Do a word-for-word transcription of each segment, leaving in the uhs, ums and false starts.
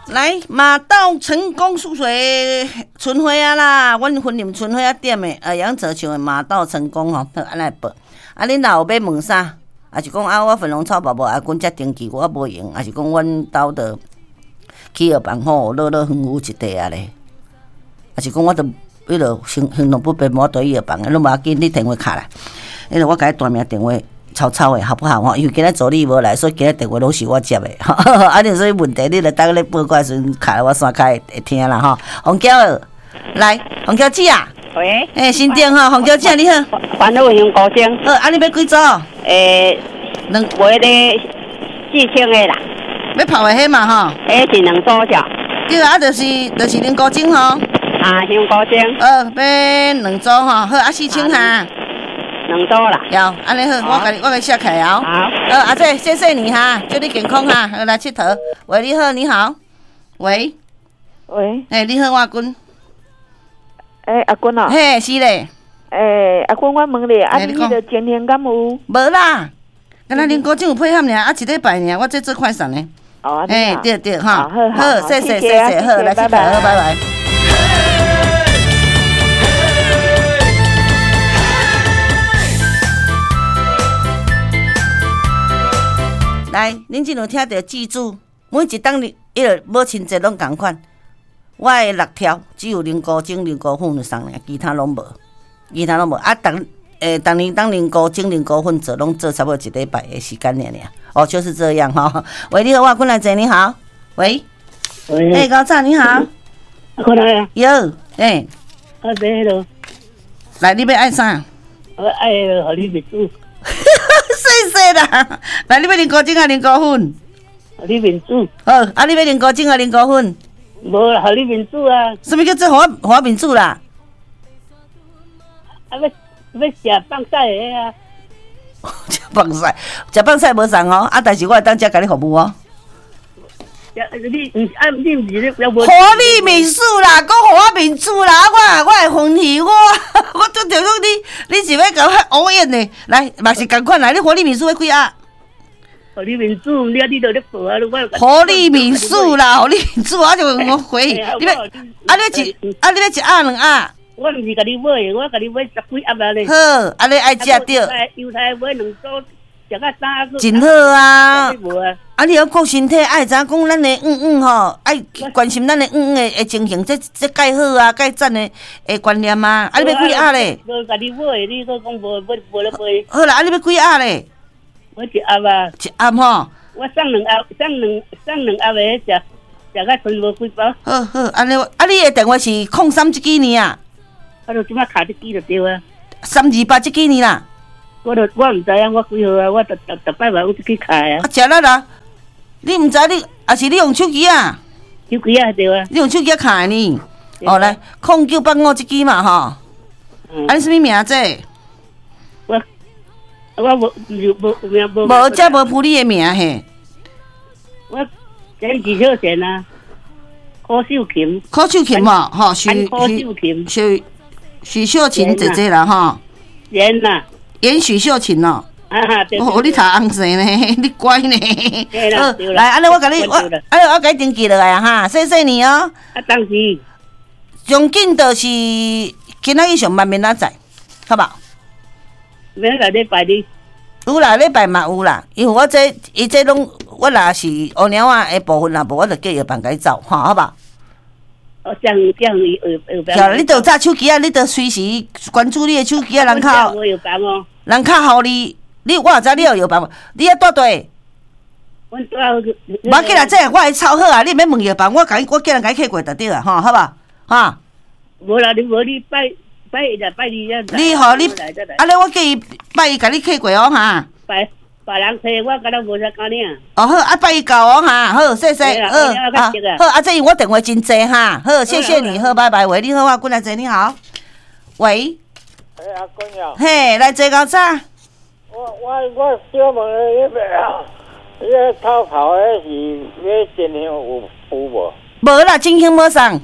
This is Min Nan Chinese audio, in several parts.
來馬到成功速水春花啊啦，阮雲林春花仔店的，呃，楊澤唱的馬到成功吼，好，按呢報。啊，恁若有欲問啥，抑是講啊，我粉紅草寶寶啊，阮才登記，我無閒，抑是講阮兜的去藥房吼，樂樂園有一塊啊咧，抑是講我都彼落行行動不便，無佇藥房，攏無要緊，你電話敲來，因為我共你大名電話。抄抄的好不好？吼，因為今仔助理無來，所以今仔電話攏是我接的。啊，你有啥物問題，你著等咧報告時陣，敲來我線較會會聽啦吼。紅嬌，來，紅嬌姊啊，喂，欸，新店吼，紅嬌姊你好，煩惱香菇精。好，啊，你欲幾組？欸，兩，買个四千个啦。欲泡的彼嘛吼？彼是兩組隻。對啊，就是就是龍菇精吼。啊，香菇精。好，欲兩組吼，好啊，四千哈。兩組啦，有，按呢好，我共你，我共你寫起來哦。好，好，阿姐，謝謝你哈，祝你健康哈，好來𨑨迌。喂，你好，你好，喂，喂，欸，你好，我阿君。欸，阿君哦。嘿，是咧。欸，阿君，我問你，啊，你彼个情形敢有？無啦，敢若恁高中有配合爾，啊，一禮拜爾，我這做快送呢。哦，欸，對對哈，好，好，謝謝謝謝，好，來𨑨迌，好，拜拜。來，恁這有聽著記住，每一冬日，彼个母親節攏仝款。我的六條只有龍菇精、龍菇粉送爾，其他攏無，其他攏無。啊，逐欸，逐年當龍菇精、龍菇粉做，攏做差不多一禮拜的時間爾爾。哦，就是這樣吼。喂，你好，我坤來坐，你好。喂。喂。欸，高早你好。坤來啊。有，欸。啊，欲彼啰。來，你欲愛啥？我愛予你面子。謝謝啦，來，你欲龍菇精抑龍菇粉？予你面子。好，啊，你欲龍菇精抑龍菇粉？無啦，予你面子啊。啥物叫做予我予我面子啦？啊，欲欲食放屎的啊！食放屎，食放屎無送哦，啊，但是我會當遮共你服務哦。你毋是啊？你毋是咧？予你面子啦，閣予我面子啦！我我會歡喜我，我拄著講你，你是欲共我烏演呢？來，嘛是仝款啦！你予你面子欲幾盒？予你面子，你啊，你著咧報啊！我予你面子啦，予你面子，我就我回你欲啊，你一啊，你欲一盒兩盒？我毋是共你買的，我共你買十幾盒啊咧。好，按呢愛食著。猶太買兩組。真好啊！啊，你猶顧身體，愛知影講咱的黃黃吼，愛關心咱的黃黃的的情形，這這蓋好啊，蓋讚的的觀念啊！啊，你欲幾盒咧？無共你買，你閣講無無無咧買。好啦，啊，你欲幾盒咧？我一盒啊。一盒吼。我送兩盒，送兩送兩盒的，食食甲剩無幾包。好好，按呢，啊，你的電話是空三這支爾啊？啊，就這擺敲這支就對啊。三二八這支爾啦。我著我毋知影我幾號啊，我逐逐逐擺嘛有去敲啊。啊，食力啦！你毋知你，抑是你用手機啊？手機啊，對啊。你用手機敲的呢？哦，來，空九八五這支嘛吼。啊，你啥物名這？我我無無無名無。無，這無鋪你的名嘿。我陳許秀賢啊，柯秀琴。柯秀琴吼，吼，許柯秀琴。許許秀琴姐姐啦，吼。賢啦。嚴許秀琴哦，哦，你讀紅姓呢？你乖呢？好，來，按呢我共你，我，按呢我共你登記落來啊哈，謝謝你哦。啊，當時上緊就是今仔日上班明仔載，好無？明仔禮拜日。有啦，禮拜嘛有啦，因為我這伊這攏我若是烏貓仔的部分，若無我就叫藥房共你走，吼，好無？哦，這樣這樣藥房。你著有紮手機啊，你著隨時關注你的手機啊，人敲。人較予你，你我也知你有藥房，你猶蹛佗？阮蹛。無要緊啦，這我會抄好啊，你毋免問藥房，我共伊，我叫人共伊客過就對啊，吼，好無？哈。無啦，你無你拜拜一拜二啊。你吼你，按呢我叫伊拜一共你客過哦，哈。拜別人揣我，敢若無啥敢領。哦好，啊拜一到哦哈，好，謝謝，好，啊好，啊這因為我電話真濟哈，好，謝謝你，好，拜拜，喂，你好，我過來坐，你好，喂。欸，阿君啊。嘿，來坐到早。我我我小問你，彼個啊，彼个偷跑的是欲真香有有無？無啦，真香無送，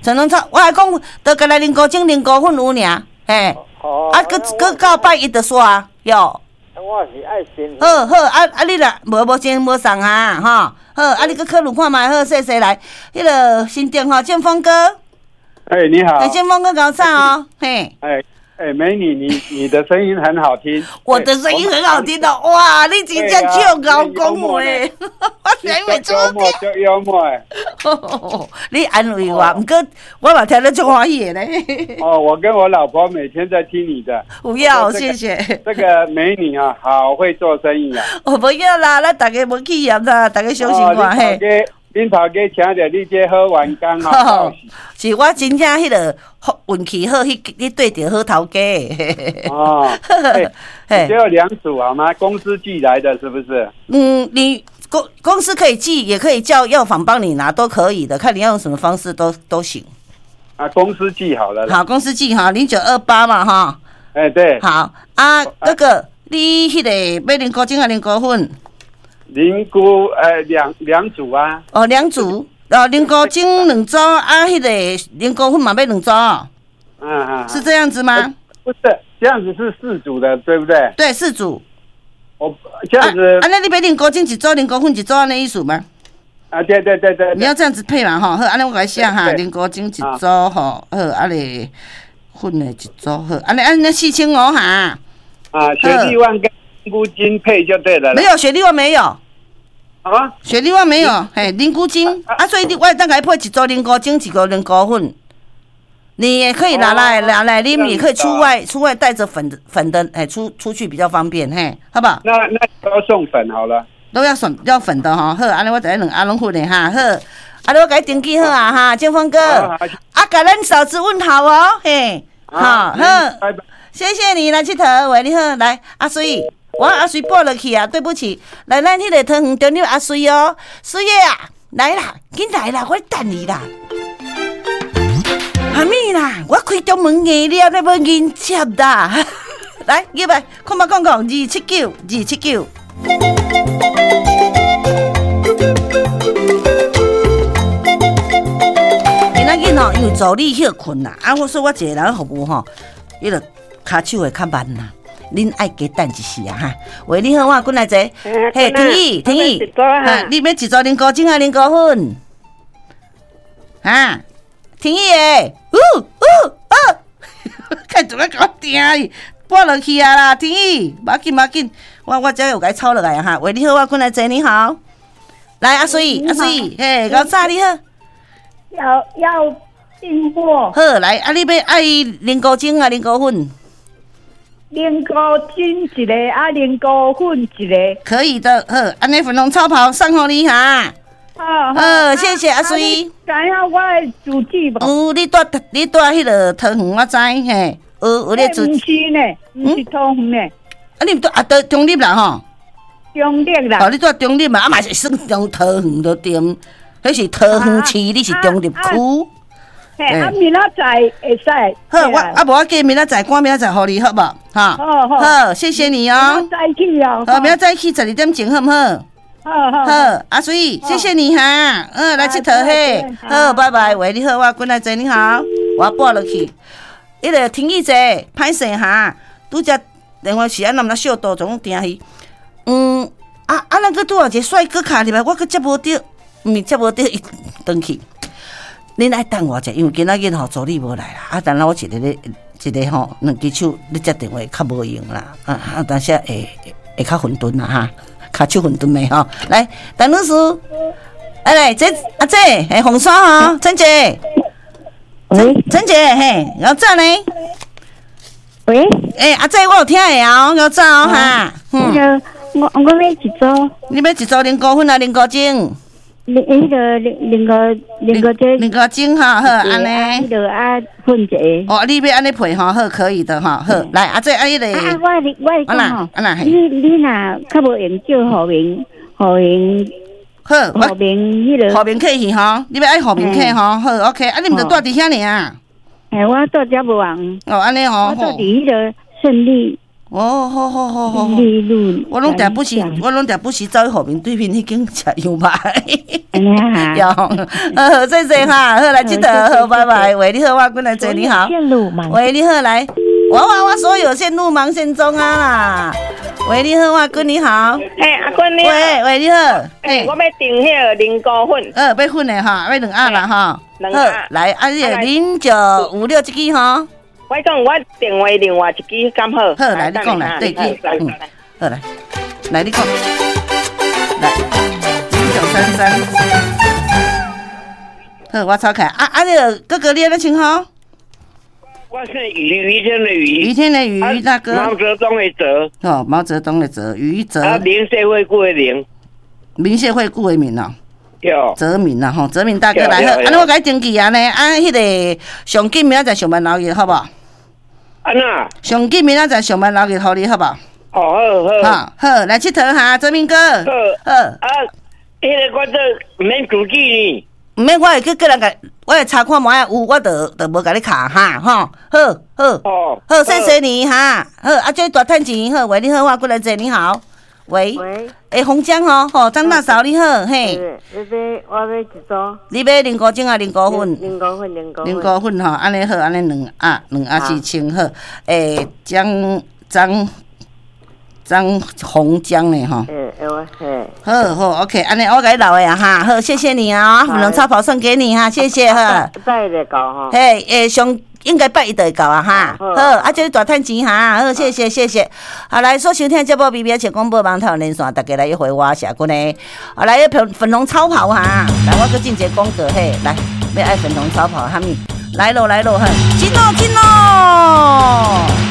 陳龍草，我來講，就干焦龍菇精、龍菇粉有爾，嘿。哦。啊，閣閣到拜一就煞，喲。我我是愛煎。好好，啊啊，你若無無錢無送啊，吼，好，啊你閣考慮看覓，好，謝謝來，彼个新店吼，建峰哥。哎，你好。哎，建峰哥𠢕早哦，嘿。哎哎，美女，你你的聲音很好聽。我的聲音很好聽的，哇！你真正笑𠢕講話，我是因為幽默，足幽默的。你安慰我，毋過我嘛聽得足歡喜的咧。哦，我跟我老婆每天在聽你的。不要，謝謝。這個美女啊，好會做生意啊。我不要啦，咱大家無去嫌啦，大家相信我嘿。恁頭家請著你這好員工啊！是我真正彼个運氣好，去你對著好頭家。哦，欸，只有兩組好嗎？公司寄來的，是不是？嗯，你公公司可以寄，也可以叫藥房幫你拿，都可以的，看你要用什麼方式都都行。啊，公司寄好了。好，公司寄哈，零九二八嘛哈。哎，對。好啊，那個你彼个買靈菇精還靈菇粉？靈菇，呃，兩兩組啊。哦，兩組，哦，靈菇精兩組，啊，彼个靈菇粉嘛欲兩組。嗯嗯。是這樣子嗎？不是，這樣子是四組的，對不對？對，四組。我這樣子。啊，那你欲靈菇精一組，靈菇粉一組，按呢意思嗎？啊，對對對對。你要這樣子配嘛，吼，好，按呢我共你寫哈，靈菇精一組，吼，好，啊咧粉的一組，好，按呢按呢四千五哈。啊，雪莉萬跟靈菇精配就對了。沒有雪莉萬沒有。啊？雪莉萬沒有，嘿，靈菇精啊，所以你我會當共你配一組靈菇精，一個靈菇粉。你也可以拿來拿來啉，也可以出外出外帶着粉粉的，哎，出出去比較方便，嘿，好不好？那那都送粉好了。都要送要粉的吼，好，按呢我就兩盒攏粉的哈，好，按呢我共你登記好啊哈，建峰哥，啊，共咱嫂子問好哦，嘿，好，好，謝謝你來𨑨迌，喂，你好，來，阿水。我阿水撥落去啊，對不起，來咱彼个桃園中壢阿水哦，水的啊，來啦，緊來啦，我等你啦。啥物啦？我開中門硬了，你欲迎接啦？來，入來，空八空空二七九二七九。今仔日吼，因為助理歇睏啦，啊，我說我一個人服務吼，彼个跤手會較慢啦。恁愛加等一時啊哈！喂，你好，我過來坐。嘿，婷宜，婷宜，你欲一組靈菇精還靈菇粉？啊，婷宜的，嗚嗚哦，看做咩共我聽伊，撥落去啊啦，婷宜，無要緊無要緊，我我這有共伊抄落來哈。喂，你好，我過來坐，你好。來，阿水，阿水，嘿，𠢕早你好。要要訂貨。好，來，啊，你欲愛靈菇精還靈菇粉？靈菇精一個，啊，靈菇粉一個，可以的。好，按呢粉紅超跑送予你哈。好，好，謝謝阿水。知影我的住址無？有，你住你住彼个桃園，我知嘿。有有咧住。毋是呢，毋是桃園呢。啊，你毋住啊？對，中壢啦吼。中壢啦。哦，你住中壢嘛？啊嘛是算中桃園就對，彼是桃園市，你是中壢區。嘿，啊，明仔載會使。好，我啊無我記明仔載，趕明仔載予你好無？哈。好好。好，謝謝你哦。明仔載去哦。好，明仔載去十二點鐘，好毋好？好好。好，阿水，謝謝你哈。嗯，來𨑨迌嘿。好，拜拜。喂，你好，我過來坐，你好，我撥落去。彼个停一者，歹勢哈，拄則電話是按怎毋知小道總聽去。嗯，啊啊，咱閣拄仔一個帥哥卡入來，我閣接無著，毋是接無著，伊轉去。恁愛等我者，因為今仔日吼助理無來啦，啊，等下我一個咧，一個吼兩支手咧接電話較無用啦，啊啊，當時會會較混沌啦哈，跤手混沌的吼。來，陳女士，哎來，這阿姐，嘿，紅山吼，陳姐，喂，陳姐，嘿，𠢕早呢？喂，欸，阿姐，我有聽會哦，𠢕早哦哈。那個，我我欲一組。你欲一組靈菇粉啊，靈菇精？靈彼个靈靈菇靈菇精，靈菇精哈好，按呢。彼个啊粉一个。哦，你欲按呢配吼，好，可以的吼，好，來阿姐啊，彼个。啊，我我講吼，你你若較無閒叫何明何明，好，何明彼个。何明客去吼，你欲愛何明客吼，好，OK，啊，你毋著住佇遐爾？嘿，我住遮無閒。哦，按呢吼。我住佇彼个勝利。哦，好好好好好，我攏定不時，我攏定不時走去後面對面彼間食羊肉。有，好，謝謝哈，好來這佗，好，拜拜。喂，你好，我過來坐，你好。喂，你好，來，我我我所有線路忙線中啊啦。喂，你好，阿君你好。嘿，阿君你好。喂喂，你好。嘿，我欲訂彼个靈菇粉。呃，欲粉的哈，欲兩盒啦哈。兩盒。來，啊，這个零九五六這支吼。我講我電話另外一支敢好？好，來你講來，對，嗯，好來，來你講，來零九三三。好，我抄開。啊啊，這个哥哥你按怎稱呼？我是余余天的余，余天的余大哥。毛泽东的泽。哦，毛泽东的泽，余泽。啊，明社會顧的明。明社會顧的明哦。對。澤民啦吼，澤民大哥來好，按呢我共你登記啊呢，啊，彼个上緊明仔載上班留日好無？按怎？上緊明仔載上班留日予你好無？哦，好好。好，來𨑨迌哈，澤民哥。好。好。啊，彼个我做毋免自己呢。毋免，我會去叫人共，我會查看覓仔有，我就就無共你卡哈吼。好，好，哦，好，謝謝你哈。好，啊，祝你大趁錢。好，喂，你好，我過來坐，你好。喂。喂。欸，洪江吼，吼，張大嫂你好，嘿。你買我買一組。你買靈菇精啊，靈菇粉。靈菇粉，靈菇粉。靈菇粉吼，按呢好，按呢兩盒，兩盒四千好。欸，張張張洪江呢吼。欸，會嘿。好好，OK，按呢我共你留的啊哈，好，謝謝你啊，粉紅超跑送給你哈，謝謝哈。拜一就到吼。嘿，欸，上應該拜一就會到啊哈，好，啊，祝你大趁錢哈，好，謝謝謝謝。好，來，所收聽節目，B B 笑廣播網頭連線，大家來約會我謝君的。好，來，粉粉紅超跑哈，來，我閣進一个廣告嘿，來，欲愛粉紅超跑哈密，來囉來囉，哈，進囉進囉。